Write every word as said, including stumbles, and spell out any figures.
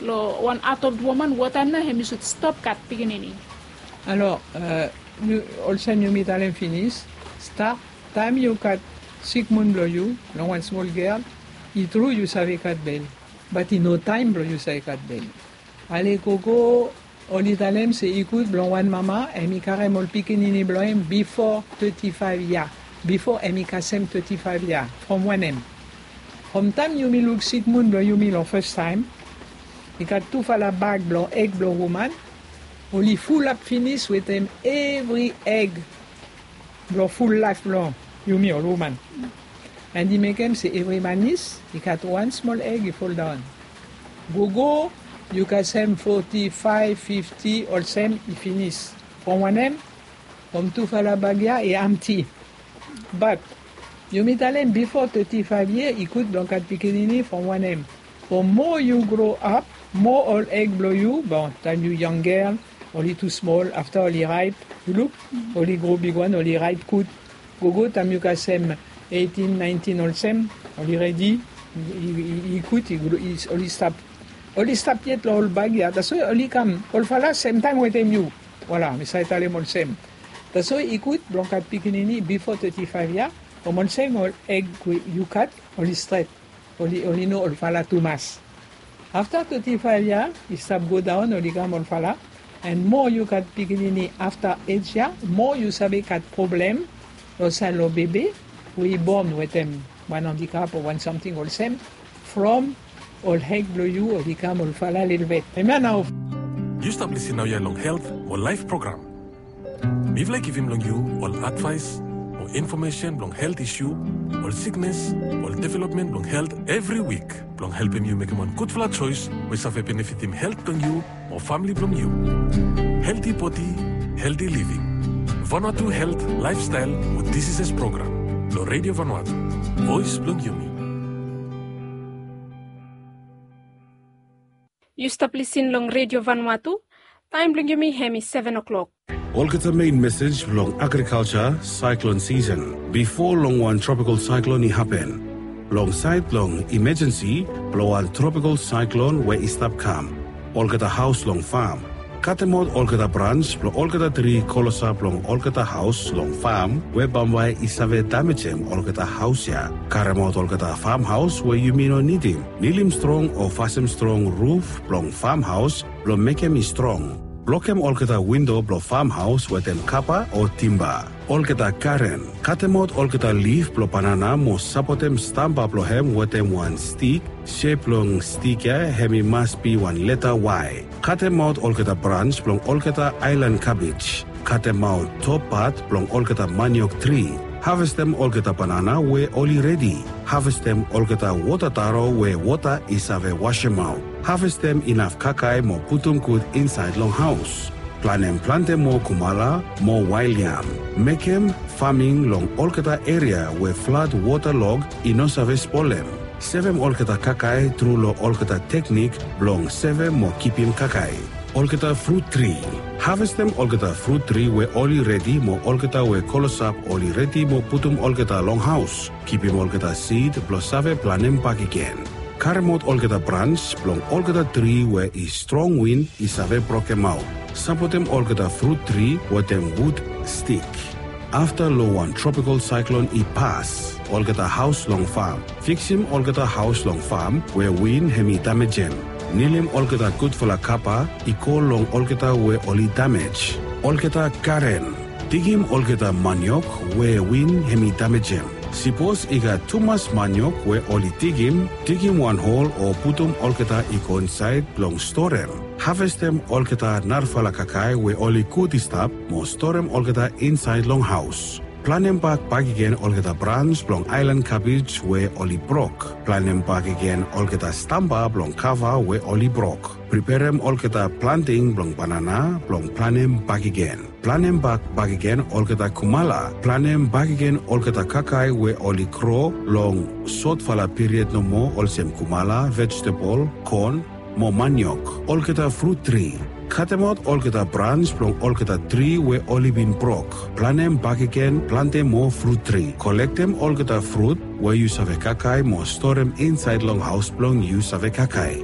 Long wan adult woman, wota nao hemi sud stop gat pikinini? Alor, olsem yumi talem finis, start taem yu gat sikmun blong yu long wan smol gel, i tru yu save gat bel, bat i no taem blong yu save gat bel. Ale gogo oli talem se i gud blong wan mama hemi karem ol pikinini blong hem bifo teti faef yia, bifo hemi kasem teti faef yia. From wanem? From taem yumi luk sikmun blong yumi long fastaem, i gat tufala bag blong eg blong woman, oli fulap finis wetem evri eg blong ful laef blong yumi ol woman. And i mekem se evri manis i gat wan smol eg i foldaon. Gogo yu kasem foti faef, fifti, olsem i finis. From wanem? From tufala bag ya i amti. Bat yumi talem bifo teti faef yia i gud blong gat pikinini. From wanem? From moa yu gro ap, moa ol eg blong yu, bon, taem yu yangel oli tu smol, afta oli raep, yu luk, oli gro bigwan, oli raep gud. Gogo taem yu kasem eitin, naentin olsem, oli redi, i gud, oli stap, oli stap yet long ol bag ya. Taswe oli kam, olfala semtaem wetem yu. Voila, mi save talem olsem. Taswe i gud blong gat pikinini bifo teti faef yia. From olsem ol eg we yu gat oli stret, oli, oli no olfala tumas. Afta teti faef yia i stap godaon, oli kam olfala. And moa yu gat pikinini afta ej ya, moa yu save gat problem long saed long bebe we i bon wetem wan andikap o wan samting olsem. From ol eg blong yu oli kam olfala lelebet. Hemia nao. Yu stap lisin naoia long Helt mo Laef program. Mifala i givim long yu ol advaes o infomesen blong helt isu, ol siknes, ol developmen blong helt evri wik, blong helpem yu mekem wan gudfala joes we save benefitim helt blong yu mo famle blong yu. Helti bodi, helti living. Vanuatu Helt, Laefstael mo Diseases program long Redio Vanuatu, voes blong yumi. Yu stap lisin long Redio Vanuatu. Taem blong yumi hemi seven o'clock. Olgeta mein mesej blong agrikalja saeklon sisen bifo long wan tropikal saeklon i hapen. Long saed blong imajensi blong wan tropikal saeklon we i stap kam, olgeta haos long fam, katemaot olgeta brans blong olgeta tri klosap long olgeta haos long fam we bambae i save damejem olgeta haos ya. Karemaot olgeta famhaos we yumi no nidim, nilim strong o fasem strong ruf blong famhaos blong mekem i strong. Blokem olgeta windo blong famhaos wetem kapa o timba. Olgeta garen, katemaot olgeta lif blong banana mo sapotem stamba blong hem wetem wan stik. Sep blong stik ya hemi mas bi wan leta Y. Katemaot olgeta brans blong olgeta aelan kabej. Katemaot top pat blong olgeta maniok tri. Havestem olgeta banana we oli redi. Havestem olgeta wota taro we wota i save wasemaot. Havestem inaf kakae mo putum gud insaed long haos. Planem plante moa kumala mo wael yam. Mekem faming long olgeta eria we flad wotalog i no save spolem. Sevem olgeta kakae tru long olgeta teknik blong sevem mo kipim kakae. Olgeta frut tri. Havestem olgeta frut tri we oli redi mo olgeta we klosap oli redi mo putum olgeta long haos. Kipim olgeta sid blong save planem bakegen. Karemaot olgeta brans blong olgeta tri we i strong win i save brokemaot. Sapotem olgeta frut tri wetem wud stik. Afta long wan tropikal saeklon i pas, olgeta haos long fam. Fiksim olgeta haos long fam we win hemi damejem. Nilim olgeta gudfala kapa i go long olgeta we oli damej. Olgeta garen. Digim olgeta maniok we win hemi damejem. Sipos i gat tumas maniok we oli digim, digim wan hol o putum olgeta i go insaed blong storem. Havestem olgeta narafala kakae we oli gud i stap mo storem olgeta insaed long haos. Planem bak bakegen olgeta brans blong aelan kabej we oli brok. Planem bakegen olgeta stamba blong kava we oli brok. Preperem olgeta planting blong banana blong planem bakegen. Planem bak bakegen olgeta kumala. Planem bakegen olgeta kakae we oli gro long sotfala piried nomo, olsem kumala, vejetebol, kon, mo maniok. Olgeta frut tri. Katemaot olgeta brans blong olgeta tri we oli bin brok. Planem bakegen plante moa frut tri. Kolektem olgeta frut we yu save kakae mo storem insaed long haos blong yu save kakae.